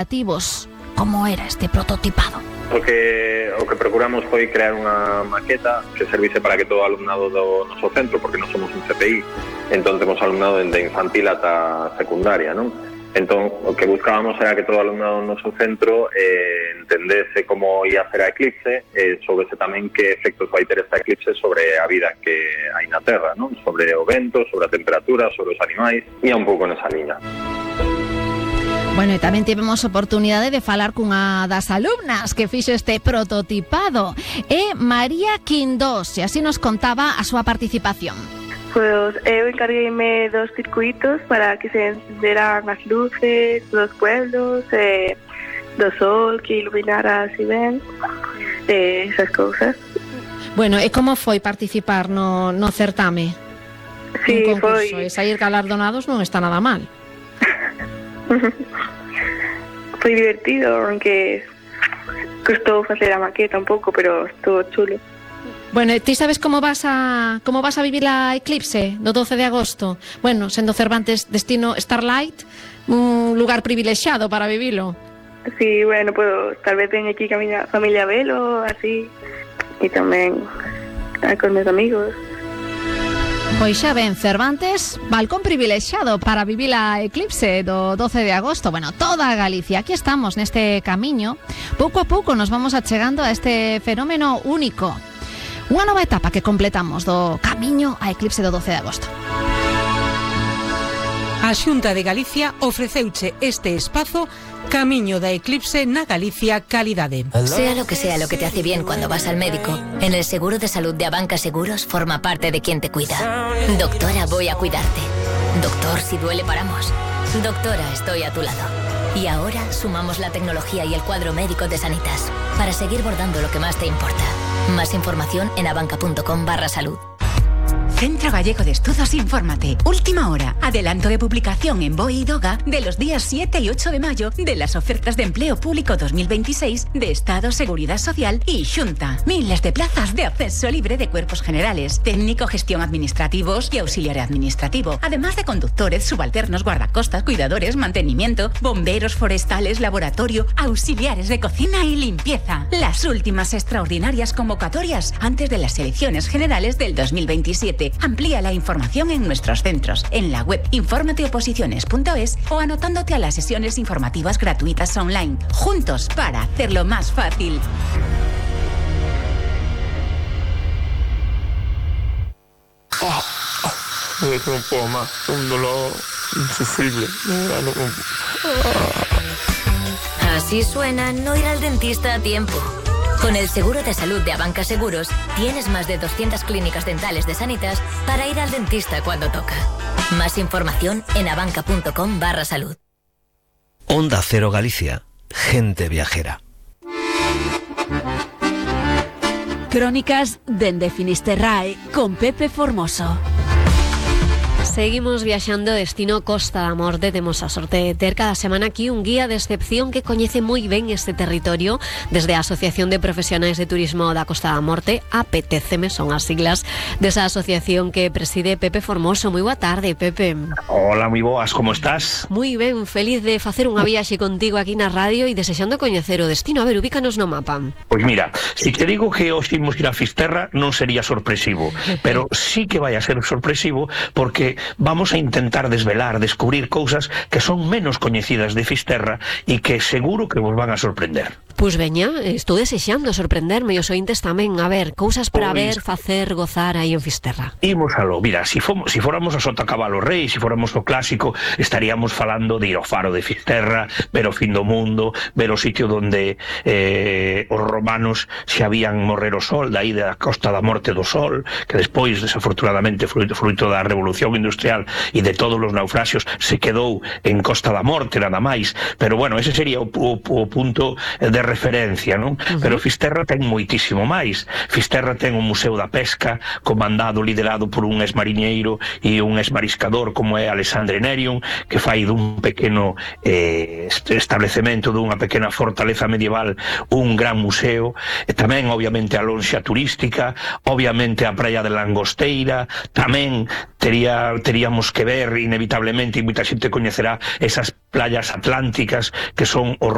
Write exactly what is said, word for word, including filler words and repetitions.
Ativos. Como era este prototipado? O que, o que procuramos foi crear unha maqueta que servise para que todo o alumnado do noso centro, porque non somos un C P I, entón temos alumnado dende infantil ata secundaria, non? Entón, o que buscábamos era que todo o alumnado do noso centro eh, entendese como ia ser a eclipse e eh, soubese tamén que efectos vai ter esta eclipse sobre a vida que hai na Terra, non? Sobre o vento, sobre a temperatura, sobre os animais, e un pouco nesa liña. Bueno, e tamén tivemos oportunidade de falar cunha das alumnas que fixo este prototipado, é María Quindós, e así nos contaba a súa participación. Pois eu encargueime dos circuitos para que se encenderan as luces dos pueblos, eh, do sol que iluminara así ben, eh, esas cousas. Bueno, e como foi participar no, no certame? Sí, un concurso, foi... e sair galardonados non está nada mal. Foi divertido, aunque custou facer a maqueta un pouco, pero estuvo chulo. Bueno, ti sabes como vas a como vas a vivir a eclipse do doce de agosto? Bueno, sendo Cervantes destino Starlight, un lugar privilexiado para vivilo. Sí, bueno, pues tal vez ven aquí a mi familia velo, así, e tamén con meus amigos. Pois xa ben, Cervantes, balcón privilexiado para vivir a eclipse do doce de agosto. Bueno, toda Galicia, aquí estamos neste camiño. Pouco a pouco nos vamos achegando a este fenómeno único. Unha nova etapa que completamos do camiño a eclipse do doce de agosto. A Xunta de Galicia ofreceuche este espazo Camiño da Eclipse na Galicia Calidade. Sea lo que sea lo que te hace bien cuando vas al médico, en el seguro de salud de Abanca Seguros forma parte de quien te cuida. Doctora, voy a cuidarte. Doctor, si duele paramos. Doctora, estoy a tu lado. Y ahora sumamos la tecnología y el cuadro médico de Sanitas para seguir bordando lo que más te importa. Más información en abanca.com barra salud. Centro Gallego de Estudos Infórmate. Última hora. Adelanto de publicación en BOE y DOGA de los días siete y ocho de mayo de las ofertas de empleo público dos mil veintiséis de Estado, Seguridad Social y Xunta. Miles de plazas de acceso libre de cuerpos generales, técnico, gestión administrativos y auxiliar administrativo. Además de conductores, subalternos, guardacostas, cuidadores, mantenimiento, bomberos forestales, laboratorio, auxiliares de cocina y limpieza. Las últimas extraordinarias convocatorias antes de las elecciones generales del dos mil veintisiete. Amplía la información en nuestros centros, en la web informateoposiciones punto es o anotándote a las sesiones informativas gratuitas online. Juntos para hacerlo más fácil. Oh, oh, no puedo más, un dolor insufrible. No, no, no. Así suena no ir al dentista a tiempo. Con el seguro de salud de Abanca Seguros, tienes más de doscientas clínicas dentales de Sanitas para ir al dentista cuando toca. Más información en abanca.com barra salud. Onda Cero Galicia, gente viajera. Crónicas dende Finisterrae con Pepe Formoso. Seguimos viaxando destino Costa da Morte. Temos a sorte de ter cada semana aquí un guía de excepción que coñece moi ben este territorio desde a Asociación de Profesionais de Turismo da Costa da Morte, A P T C M, son as siglas desa asociación que preside Pepe Formoso. Moi boa tarde, Pepe. Hola, moi boas, como estás? Moi ben, feliz de facer unha viaxe contigo aquí na radio e desexando coñecer o destino. A ver, ubícanos no mapa. Pois mira, se te digo que hoxe imos ir a Fisterra non sería sorpresivo, pero sí que vai a ser sorpresivo porque vamos a intentar desvelar, descubrir cousas que son menos coñecidas de Fisterra e que seguro que vos van a sorprender. Pois veña, estou desexando sorprenderme e os ointes tamén. A ver, cousas para pois... ver, facer, gozar aí en Fisterra. Imos a lo, mira, si, fomos, si fóramos a Sotacabalo Rei, si fóramos o clásico, estaríamos falando de ir ao faro de Fisterra, ver o fin do mundo, ver o sitio donde eh, os romanos se habían morrer o sol, daí da Costa da Morte do Sol, que despois, desafortunadamente, fruito, fruito da revolución industrial e de todos os naufraxios, se quedou en Costa da Morte, nada máis. Pero bueno, ese sería o, o, o punto de referencia, non? Uh-huh. Pero Fisterra ten moitísimo máis. Fisterra ten o Museo da Pesca, comandado, liderado por un exmariñeiro e un exmariscador como é Alexandre Nerion, que fai dun pequeno eh, establecemento, dunha pequena fortaleza medieval, un gran museo. E tamén, obviamente, a lonxa turística, obviamente a praia de Langosteira, tamén tería, teríamos que ver, inevitablemente, e moita xente coñecerá esas playas atlánticas que son os